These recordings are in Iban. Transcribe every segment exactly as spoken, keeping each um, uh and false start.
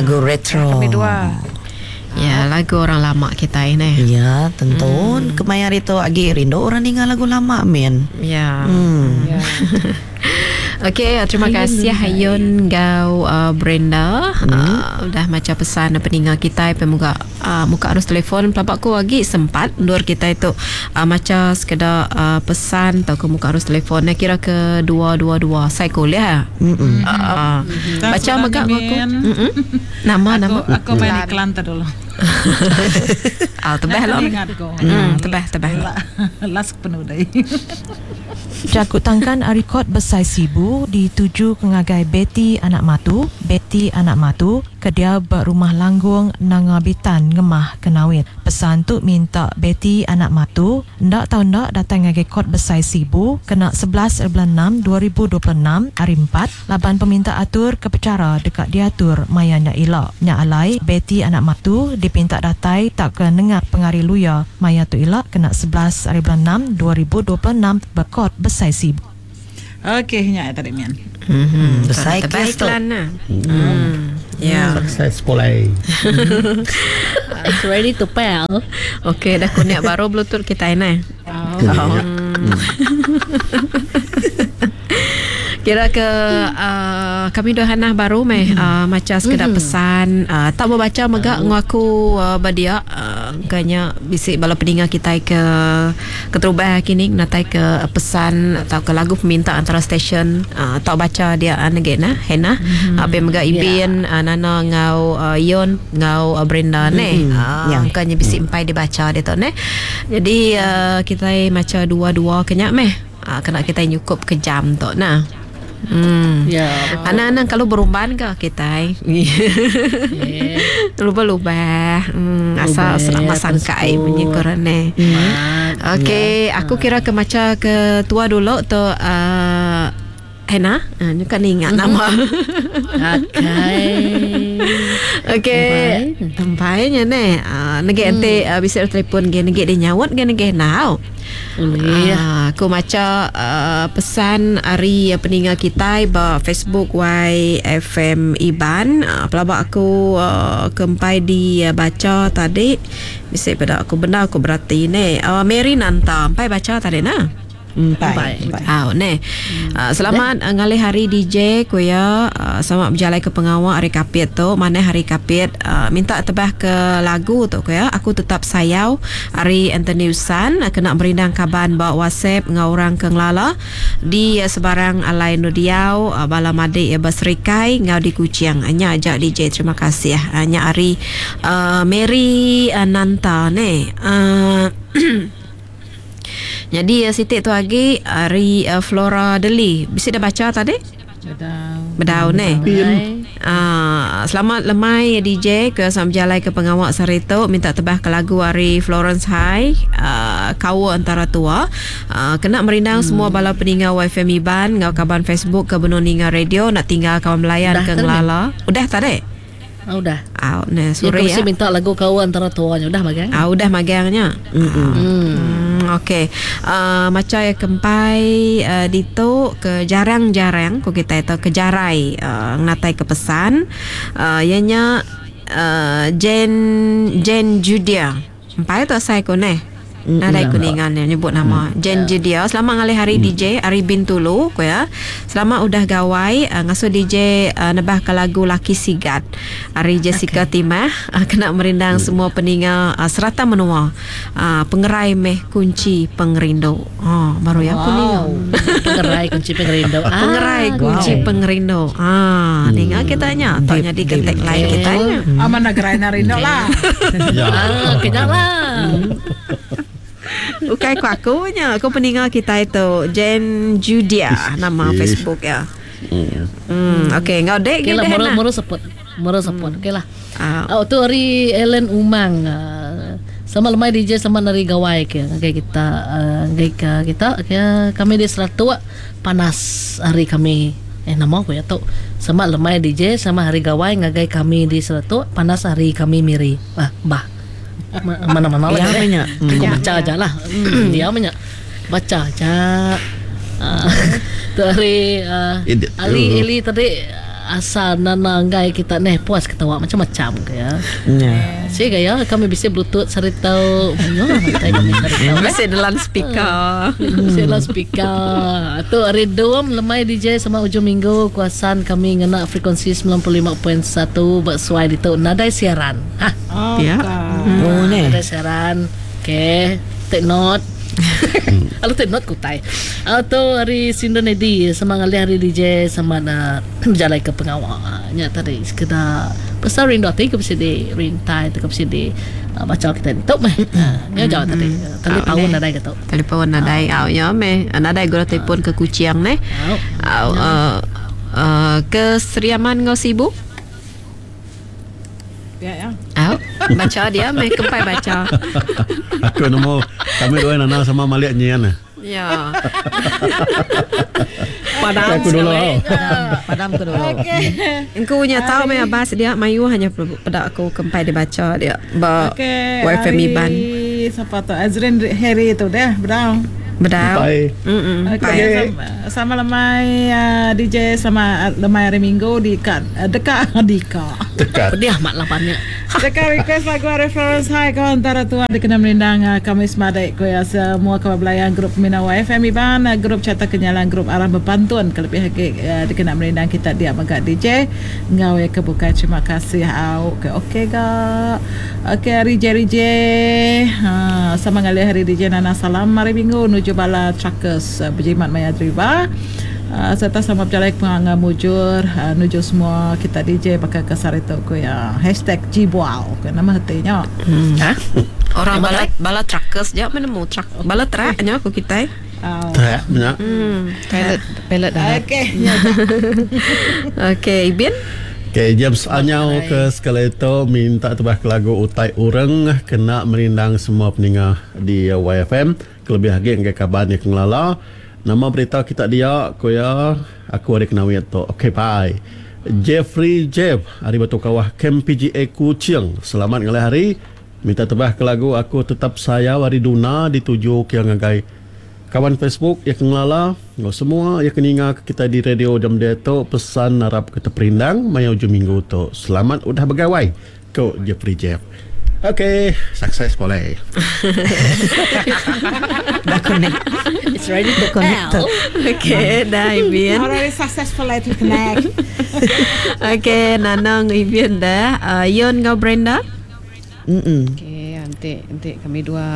Lagu retro. Kami dua. Ya, lagu orang lama kita ini. Ya, tentu. Hmm. Kemaya hari tu agi rindu orang ninga lagu lama, min. Ya. Hmm. Ya. Okey, terima kasih Hayun gau uh, Brenda. Hmm. Uh, udah maca pesan peninga kita pemuka uh, muka arus telefon pelabak ku lagi sempat ndur kita itu uh, maca sekedar uh, pesan atau ke muka arus telefon eh, kira ke dua dua dua saya kuliah. Mm-mm. Uh, uh, Tak baca sudah megak ni, aku. Min. Mm-mm. Nama Aku, nama. aku main iklan tu dulu. Ah, tebah lah. Ingat ko. Hmm, tebah tebah. Last penuh dai. Jakut tangkan rekod besai Sibu dituju ke ngagai Betty Anak Matu, Betty Anak Matu ke dia berumah Langgung Nanga Bitan Ngemah Kenawit. Pesan tu minta Betty Anak Matu ndak tau ndak datang ngagai kod besai Sibu kena sebelas bulan enam dua ribu dua puluh enam hari empat laban peminta atur ke pecara dekat diatur maya nyak ilak. Nyak alai Betty Anak Matu dipinta datai tak ke nengah pengari luya maya tu ilak kena sebelas hari bulan enam dua ribu dua puluh enam berkod besai Sibu. Okey, nyak tadi mian. Hmm, Besai tebah kes tu. iklan lah. Hmm. Ya. Successful eh. It's ready to pel. Okey, dah kunik baru bluetooth kita ini. Oh. Hmm. Kira ke uh, kami dah hanah baru meh uh, macam sekedar mm. pesan uh, tak membaca megak uh. ngaku uh, badia uh, kayaknya bisik bala peninga kita ke keterubah kini natai ke pesan atau ke lagu peminta antara stesen uh, tak baca dia uh, negek nah Hena mm-hmm. uh, megak Ibin yeah. uh, Nana ngau uh, Yon ngau uh, Brenda mm-hmm. ne uh, Ya. kayaknya bisik empai dibaca dia tu ne. Jadi uh, kita maca dua-dua kenyak meh uh, kena kita nyukup ke jam tu nah. Hmm. Ya. Anak-anak kalau berumban ke kita? Yeah. Lupa-lupa. Hmm, asal Lubah, selama sangkai tersebut. punya korang ni. Okey, aku kira ke maca ke tua dulu tu uh, Hena, uh, ni kan ingat nama. Okey. Okey, tampainya ni. Uh, negek nanti uh, bisa telefon ge negek dia nyawat ge negek nau. Boleh. Ah, aku maca uh, pesan hari uh, peninga kita ba Facebook Y F M Iban. Uh, pelabak aku uh, kempai di uh, baca tadi. Bisa pada aku benar aku berarti ni. Uh, Mary Nanta, empai baca tadi nah. Empai. Empai. Ah, ne. Uh, selamat uh, ngalih hari D J ku ya. Uh, selamat berjalan ke pengawal hari kapit tu. Mana hari kapit uh, minta tebah ke lagu tu ku ya. Aku tetap sayau hari Anthony Usan uh, kena merindang kaban bawa WhatsApp ngau orang ke ngelala di uh, sebarang alai nu diau uh, bala madik ya berserikai ngau di Kuching. Nya ajak D J terima kasih. Uh, nya hari uh, Mary uh, Nanta ne. Uh, Jadi uh, Siti tu lagi hari uh, Flora Deli. Bisa dah baca tadi? Bedau. Bedau ne. Ah, selamat lemai D J ke sam jalai ke pengawak sarito minta tebah ke lagu hari Florence High uh, kawa antara tua uh, kena merindang hmm. semua bala peninga Y F M Iban ngau kaban Facebook ke benung ninga radio nak tinggal kawan melayan Udah ke tadi? ngelala. Udah tadi? Ah, udah. Ah, ne Ya, sore ya. ya. minta lagu kau antara tuanya udah magang. Ah, udah magangnya. Hmm. Hmm, okey. Uh, macam yang kempai uh, dito ke jarang-jarang ku kita itu ke jarai uh, ngatai ke pesan. Uh, ianya uh, Jen Jen Judia. Empai tu saya ku neh. Nadai kuningan yang nyebut nama Jen Judia. Selamat ngalih hari D J Ari Bintulu ku ya. Selamat udah gawai uh, ngasuh D J uh, nebah ke lagu Laki Sigat. Ari Jessica okay. Timah uh, kena merindang semua peninga uh, serata menua. Uh, pengerai meh kunci pengerindu. Oh, baru ya aku ninga. Pengerai kunci pengerindu. Ah, Pengerai kunci wow. pengerindu. Ah, ninga kitanya. Tak jadi ke tagline kitanya. Aman negara narindo lah. Ya. Ah, kena lah. Bukan aku akunya. Aku peninga kita itu Jen Judia nama Facebook ya. Hmm, okey, ngau dek Okey lah, gede moro nah. moro support. Moro support. Okey lah. Ah, Oh, tu hari Ellen Umang. Ah, Selamat lemai D J, selamat hari gawai ke. Okey kita ah, okay, ke kita ke, kami di Seratua panas hari kami. Eh nama aku ya tu. Selamat lemai D J, selamat hari gawai ngagai kami di Seratua panas hari kami miri. Ah, bah. Ma- Mana-mana lah. Ya, eh. banyak. Aku baca aja lah. Dia banyak. Baca aja. Ah, tu hari ah, Edit. Ali Eli tadi Asal nana enggai kita neh puas ketawa macam-macam ke ya. Ya. Si gaya kami bisa bluetooth saritau. Ya, kami saritau. Masih dalam speaker. Bisa dalam speaker. Tu hari dua lemai D J sama ujung minggu kuasaan kami ngena frekuensi sembilan puluh lima titik satu bersuai di tu nadai siaran. Ha. Oh, Ya. Oh ne. Nadai siaran. Okey, take note. Lalu take note kutai. Atau hari Sindan Edi sama ngalih hari D J sama na berjalan ke pengawal. Nya tadi sekedar pasal rindu ati ke mesti di rintai ke mesti di baca kita ni. Tok meh. Nya jauh tadi. Telefon nadai ke tok. Telefon nadai au ya meh. Nadai gura telefon ke Kuching neh. Au ke Seriaman ngau sibuk. Ya ya. Au baca dia meh kempai baca. Aku nemu kami dua nana sama malik nyian. Ya. Padam aku dulu. Padam ke dulu. Okey. Engkau punya tahu meh abas dia mayu hanya pada aku kempai dia baca dia. Ba Okey. Y F M Iban. Siapa tu? Azrin Harry tu dah, bedau. Bedau. Bye. Mm-mm. Okey, sama, sama lemai uh, D J sama lemai hari Minggu di kat uh, dekat di kat. Dekat. Pedih amat lah banyak. Dekat request lagu reference hai kawan antara tua dikena melindang uh, kami semadai ko ya semua kawan belayan grup Mina Y F M Iban, uh, grup Carta Kenyalan, grup Arah Berpantun kelebih lagi uh, dikena melindang kita dia megak D J ngau ya kebuka terima kasih au. Okey okey ga. Okey hari Jerry J. Ha sama ngalih hari D J Nana salam hari Minggu nuju bala truckers uh, berjimat maya driva. Uh, serta sama berjalan penganga mujur uh, nuju semua kita D J pakai kesar itu ku ya hashtag Jibuau ke nama hatinya. Hmm. Ha? Orang bala bala truckers je menemu truck bala truck nya aku kita. Oh. Truck nya. Hmm. Pilot pilot dah. Okey. Okey, Ibin. Okey, James Anyau ke sekali itu minta tebah ke lagu Utai Ureng kena merindang semua peninga di Y F M. Kelebih lagi enggai kaban yang kengelala. Nama berita kita dia ko ya aku ada kena wit tu. Okey, bye. Jeffrey Jeff hari Batu Kawah Kem P G A Kuching. Selamat ngalih hari. Minta tebah ke lagu Aku Tetap Sayau hari Duna dituju ke ngagai kawan Facebook yang kengelala. Ngau semua yang keninga kita di radio jam dia tu pesan harap kita perindang maya ujung minggu tu. Selamat udah bergawai. Ko Jeffrey Jeff. Okey, sukses boleh. Dah connect. It's ready to connect. Okey, dah Ibin. Already successful to connect. Okey, Nanang Ibin dah. Uh, Yon ngau Brenda? Mm-mm. Okey, nanti nanti kami dua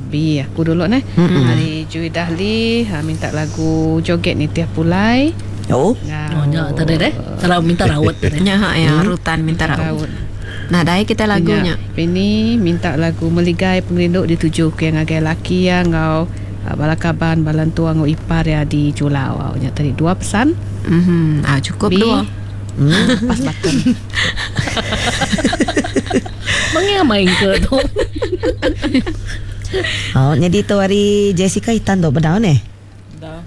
B aku dulu neh. Hari Jui Dahli ha, minta lagu Joget Ni Tiap Pulai. Oh. Oh, nya tadi deh. Kalau minta rawat tadi. Nya ha ya, rutan minta rawat. Nah, dai kita lagunya. Ini minta lagu Meligai Pengerindu dituju ke yang agai laki ya ngau bala kaban balan tua ngau ipar ya di Julau. Nya tadi dua pesan. Mhm. Ah cukup B. dua. Hmm. Pas button. Mengi main ke tu. Oh, jadi tu hari Jessica Itan tu bedau ni.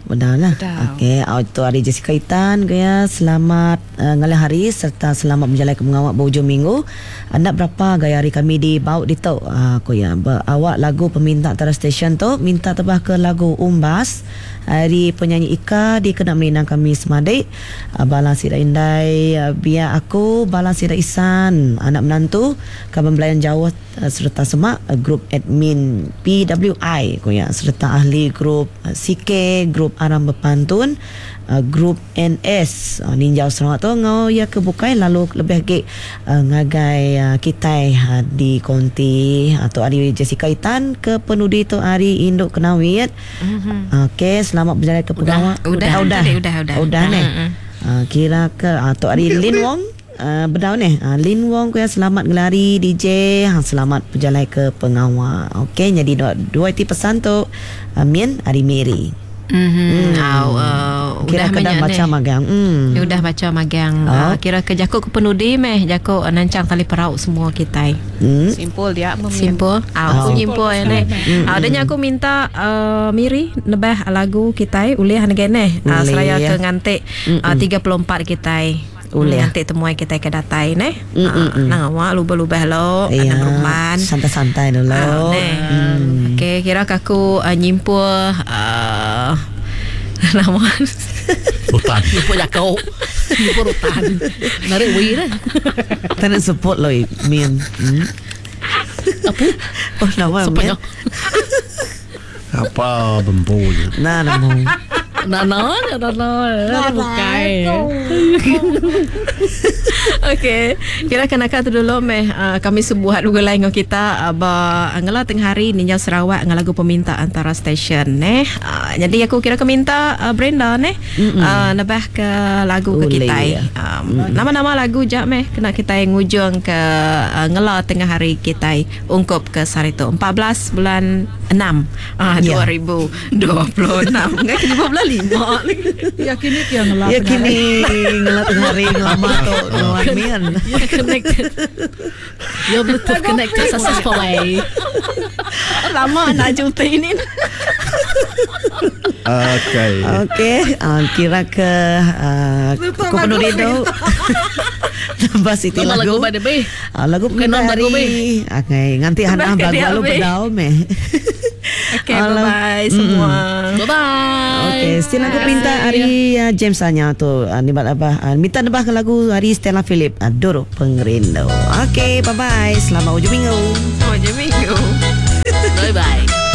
Benar lah. Okey, oh, tu hari Jessica Itan ke ya. Selamat uh, ngalih hari serta selamat berjalan ke mengawak berhujung minggu. Anda berapa gaya hari kami di Bauk di tu? Ah, aku ya. Awak lagu peminta antara stesen tu minta tebah ke lagu Umbas. Hari penyanyi Ika di kena melinang kami semadik. Uh, Balang Sira Indai uh, biar aku Balang Sira Isan anak menantu kaban belayan jauh uh, serta semak uh, grup admin P W I aku ya serta ahli grup uh, C K grup Aram Berpantun uh, grup N S uh, Ninjau Sarawak tu ngau ya ke bukai lalu lebih lagi uh, ngagai uh, kitai uh, di konti atau hari Jessica Itan ke penudi tu hari Induk Kenawit. Mm-hmm. Okey, selamat berjalan ke pegawai. Udah, udah, udah, udah, udah. Udah ni. Mm-hmm. Uh, kira ke atau hari Lin Wong uh, bedau ni. Uh, Lin Wong ku yang selamat ngelari D J, ha, selamat berjalan ke pengawal. Okey, jadi dua, dua iti pesan tu Amin hari Mary. Mm-hmm. Hmm. Au, uh, kira udah kena baca magang. Hmm. Ya, udah baca magang. Oh. Uh, kira ke jakuk ke penudi meh jakuk uh, nancang tali perahu semua kita. Hmm. Simpul dia Simpul. Ah, aku nyimpul ya neh. Ah, adanya aku minta uh, Miri nebah lagu kita ulih nege neh. Uh, seraya ke ngantik uh, tiga puluh empat kita. Ulih. Nanti temuai kita ke datai neh. Mm, mm, mm. Nang awak lubah-lubah lo, Iya, nang rumpan. Santai-santai dulu. Ah, neh. Hmm. Okey, kira aku uh, nyimpul uh, Nama Hutan. Lupa jakau. Lupa rutan. Narik wi dah. Tak nak support lo Min. Hmm. Apa? Oh, nama Siapa Min. nya? Apa bempunya? Nah, nemu. Nana, nana, nana bukai. Okey, kira kena tu dulu meh uh, kami sebuat lagu lain dengan kita uh, ba ngela tengah hari ninjau Sarawak dengan lagu peminta antara stesen neh. Uh, jadi aku kira ke minta uh, Brenda neh uh, nebah ke lagu ke Boleh, kita. ya. Um, nama-nama lagu jak meh kena kita ngujung ke uh, ngela tengah hari kita ungkup ke Sarito empat belas bulan enam ah Ya. dua ribu dua puluh enam. Enggak kini bulan lima. Ya kini kia ngelak. Ya kini ngelat tengah hari ngelama tu nuan Min. You're connected. Your Bluetooth connected successfully. Lama nak jumpa ini. Okey. Okey, uh, kira ke uh, ku penuh itu. Tambah siti Nama lagu. lagu by the bay. Ah, lagu Bukan peminta non lagu hari. Okey, nganti hana Tambah ke bagu dia, alu Be. bedau meh. Okey, Alah. bye-bye semua. Bye-bye. Okey, still lagu pinta hari uh, James Anya tu uh, ni apa uh, minta nebah ke lagu hari Stella Philip uh, Doro Pengrindu. Okey, bye bye. Selamat hujung minggu. Selamat hujung minggu. Bye-bye.